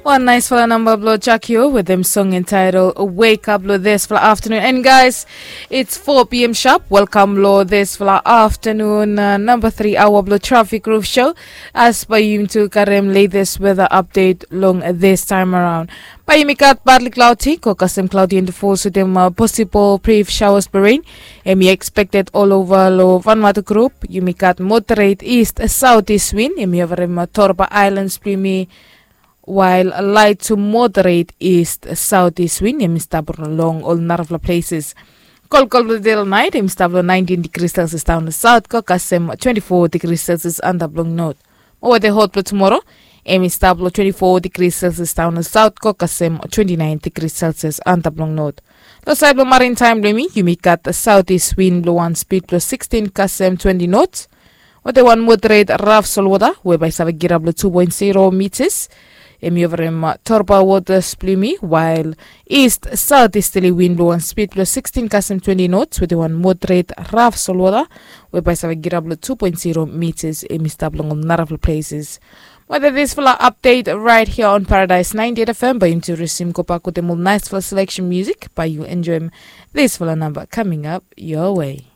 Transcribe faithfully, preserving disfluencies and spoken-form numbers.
Wan naisfala namba blong Jakio wetem song entitled Wake Up long disfala afternoon. And guys, it's four p.m. sharp. Welcome long disfala afternoon uh, number three hour blong Traffic Roof Show. As by yumi tu karem latest weather update long this time around. By yumi got partly cloudy, ko kasem cloudy and falls wetem uh, possible brief showers by rain. Em yumi expected all over long Vanuatu group. Yumi got moderate east southeast wind. Em yumi overem uh, Torba Islands blong yumi while light to moderate east southeast wind em i stap long ol narafala places. Kolkol blong de long nait em i stap long nineteen degrees Celsius down the south, ko kasem twenty-four degrees Celsius antap long north. Mo wete hot blong tomorrow em i stap long twenty-four degrees Celsius down the south, ko kasem twenty-nine degrees Celsius antap long north. Long side blong marin time blong yumi, yumi gat southeast wind blong wan speed blong sixteen kasem twenty knots. Wete wan moderate raf solwota we bai save girap long two point zero meters. Em i overem uh, Torba waters blong yumi, while east southeasterly wind blong wan speed blong sixteen kasem twenty knots wete wan moderate raf solwota we bai save girap long two point zero meters. Em i stap long ol narafala places. Wete disfala update right here on Paradise ninety-eight F M, by yumi tu resume go back wetem ol naisfala selection music, by yu enjoyem disfala namba coming up your way.